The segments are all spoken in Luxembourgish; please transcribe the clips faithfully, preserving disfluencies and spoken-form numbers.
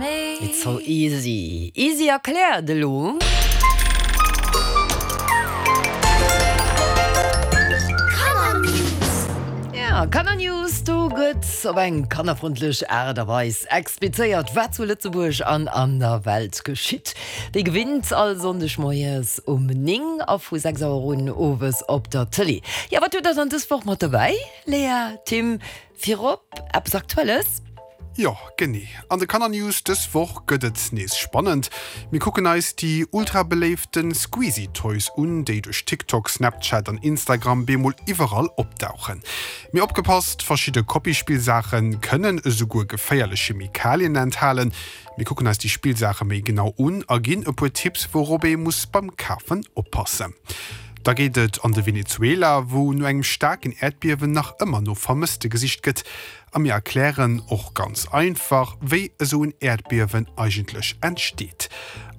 me. It's so easy. Easy erkläert elo. Ja, Kannernews, do gëtt op eng kannerfrëndlech Aart a Weis explizéiert, wat zu Lëtzebuerg an an der Welt geschitt. Wéi gewinnt all Sonndeg moies um néng a vu sechs Auer un owes op der Tëlee. Ja, wat hutt der dann dës Woch mat dobäi, Lea, Tim? Virop eppes Aktuelles. Jo, genee. An de Kannernews dës Woch gëtt et nees spannend. Mir kucken eis déi ultrabeléifte Squeezy Toys un, déi duerch TikTok, Snapchat an Instagram bemol iwwerall opdauchen. Mee opgepasst, verschidde Kopie-Spillsaache kënnen esouguer geféierlech Chemikalien enthalen. Mir kucken eis déi Spillsaache méi genau un a ginn e puer Tipps, wourop ee muss beim Kafen oppassen. Da geet et an de Venezuela, wou no engem staarken Äerdbiewen nach ëmmer no Vermësste gesicht gëtt. A mir erklären och ganz einfach, wéi esou en Äerdbiewen eigentlech entsteet.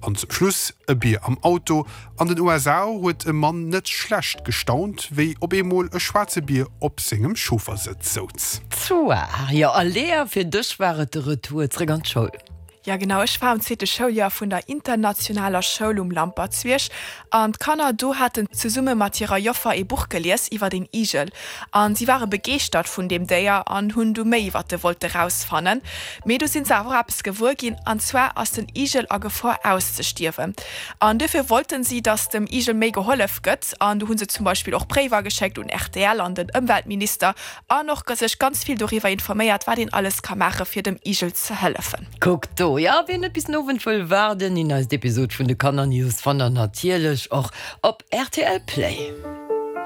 An zum Schluss e Bier am Auto, An den U S A huet e Mann net schlecht gestaunt, wéi op eemol e schwaarze Bier op sengem Chauffersëtz souz. Zwar, jo. A Lea, fir dech war et de Retour zréck an d'Schoul. Ja genau, ech war am zweete Schouljoer vun der internationaler Schoul um Lampertsbierg an d'Kanner do haten zesumme mat hirer Joffer ee Buch gelies iwwert een Igel an si ware begeeschtert vun deem Déier an hunn du méi iwwert e wollte rausfannen. Mee du sinn se awer och eppes gewuer ginn an zwar ass den Igel a Gefor auszestierwen an duerfir wollten si, dass dem Igel méi gehollef gëtt an du hunn se zum Beispill och Bréiwer geschéckt un rtl an den Ëmweltminister an och sech ganz vill doriwwer informéiert, wat een alles ka maache fir dem Igel ze hëllefen. Kuck do, jo, wien net bis den Owend wëll waarden, déi neist Episod vun de Kannernews fannt der natierlech och op rtl Play.